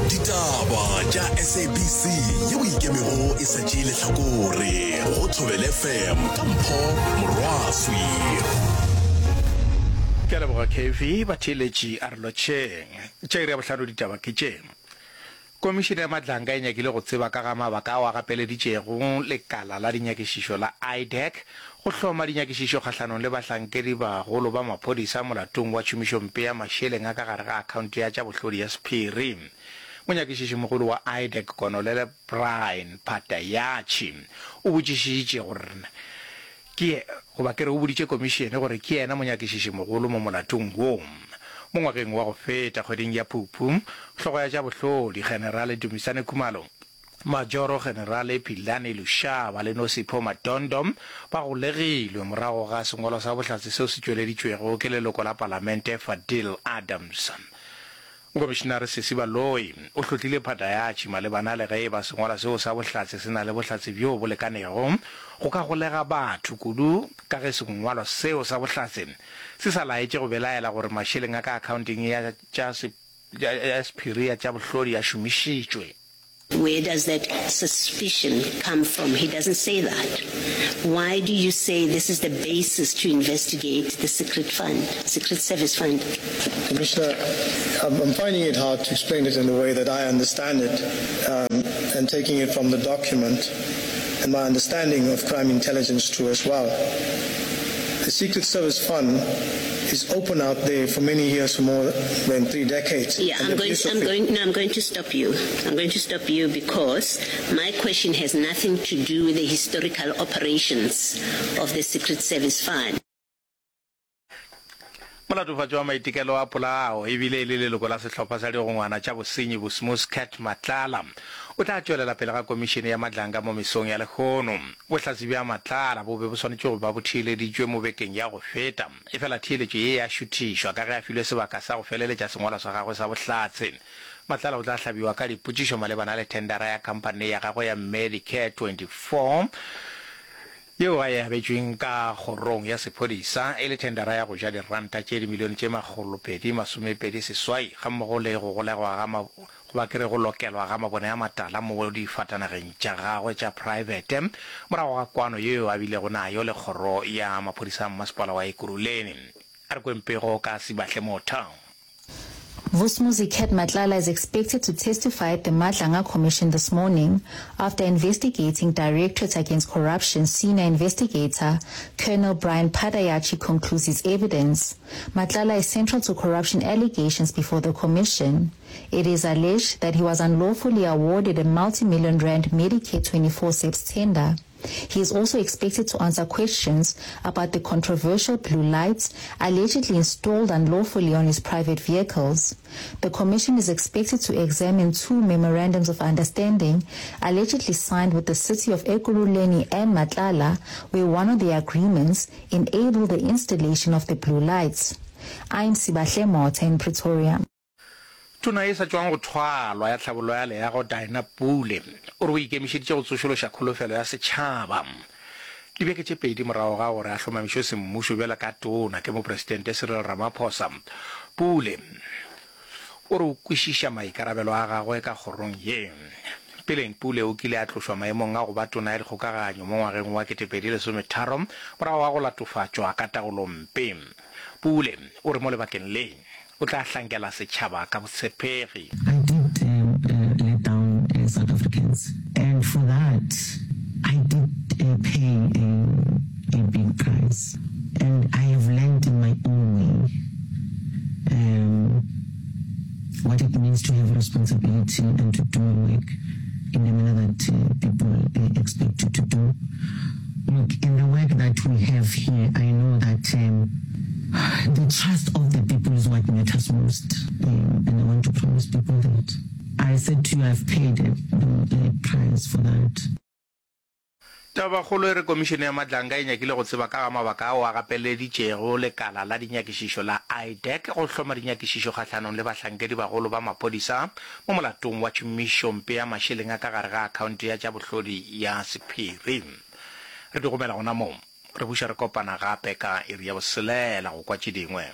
Ditaba tša SABC yeo e ikemego e sa tšee lehlakore go Thobela FM ka Mpho Morwaswi. Ke a leboga KV, batheeletši a re lotšheng. Tša iri ya bohlano ditaba ke tše. Komišene ya Madlanga e nyakile go tseba ka ga mabaka ao a gapeleditšego lekala la dinyakišišo la IDAC go hloma dinyakišišo kgahlanong le bahlankedibagolo ba maphodisa molatong wa tšhomišompe ya mašeleng a ka gare ga akhaonte ya tša bohlodi ya sephiri. Monyakišišimogolo wa IDAC Konolele Brian Padayachee o botšišitše gore Ke, goba ke re o boditše komišene gore ke yena monyakišišimogolo mo molatong wo. Mo ngwageng wa go feta, kgweding ya Phuphu, hlogo ya tša bohlodi, Generale Dumisani Khumalo, Majoro Generale Philani Lushaba le Nosipho Madondo ba golegilwe morago ga sengwalwa sa bohlatse seo se tšweleditšwego ke leloko la palamente Fadil Adams. Mokomišenare Sesi Baloyi o hlotlile Padayatši malebana le ge e ba sengwalwa seo sa bohlatse se na le bohlatse bjo bo lekanego go ka golega batho, kudu ka ge sengwalwa seo sa bohlatse se sa laetše go belaela gore mašeleng a ka akhaonteng ya tša ya sephiri ya tša bohlodi a šomišitšwe. Where does that suspicion come from? He doesn't say that. Why do you say this is the basis to investigate the secret fund, secret service fund? Commissioner, I'm, I'm finding it hard to explain it in the way that I understand it um, and taking it from the document and my understanding of crime intelligence too as well. The Secret Service Fund is open out there for many years, for more than three decades. Yeah, I'm going, I'm going, no, I'm going to stop you. I'm going to stop you because my question has nothing to do with the historical operations of the Secret Service Fund. Molatofatši wa maitekelo a polao e bile e le leloko la sehlopha sa digongwana tša bosenyi Bosmus Cat Matlala o tla tšwelela pele ga komišene ya Madlanga mo mesong ya lehono. Bohlatse bja Matlala bo be bo swanetše go ba bo theeleditšwe mo bekeng ya go feta, efela theeletšo ye ya šuthišwa ka ge a filwe sebaka sa go feleletša sengwalwa sa gagwe sa bohlatse. Matlala o tla hlabiwa ka dipotšišo malebana le thendara ya khamphane ya gagwe ya Medicare 24 yeo a e abetšweng ka kgorong ya sephodisa e le thendara ya go ja diranta tše dimilione tše 228 gammogo le go golegwa ga goba ke re go lokelwa ga mabone a matala mo difatanageng tša gagwe tša praebete morago ga kwano yeo a bilego nayo le kgoro ya maphodisa a mmasepala wa Ekurhuleni. A re kweng pego ka Sibahle Motha. Vusmuzi Cat Matlala is expected to testify at the Madlanga Commission this morning after investigating Directorate Against Corruption senior investigator Colonel Brian Padayachi concludes his evidence. Matlala is central to corruption allegations before the commission. It is alleged that he was unlawfully awarded a multi-million rand Medicare 24 SEPS tender. He is also expected to answer questions about the controversial blue lights allegedly installed unlawfully on his private vehicles. The commission is expected to examine two memorandums of understanding allegedly signed with the city of Ekurhuleni and Matlala, where one of the agreements enabled the installation of the blue lights. I'm Sibahle Motha in Pretoria. Tona ye sa tšwang go thwalwa ya Tlhabollo ya Leago Dinah Pule o re o ikemišeditše go tsošološa kholofelo ya setšhaba. Dibeke tše pedi morago ga gore a hlomamišwe semmušo bjalo ka tona ke Mopresidente Cyril Ramaphosa, Pule o re o kwešiša maikarabelo a gagwe ka kgorong ye. Peleng Pule o kile a tlošwa maemong a go ba tona ya dikgokaganyo mo ngwageng wa 2013 morago ga go latofatšwa ka taolompe. Pule o re mo lebakeng le, o tla hlankela setšhaba ka botshepegi. I did let down South Africans and for that I did pay a big price and I have learned in my own way what it means to have responsibility and to do your work in the manner that people expect you to do. Look, in the work that we have here, I know that um, the trust of the people is what matters most. Um, and I want to promise people that. I said to you, I've paid a, a price for that. Tabakgolo e re Komišene ya Madlanga e nyakile go tseba ka ga mabaka ao a gapeleditšego lekala la dinyakišišo la IDAC go hloma dinyakišišo kgahlanong le bahlankedibagolo ba maphodisa mo molatong wa tšhomišompe ya mašeleng a ka gare ga akhaonte ya tša bohlodi ya sephiri. Re di gomela gona mo. Re buša re kopana gape ka iri ya boselela go kwa tše dingwe.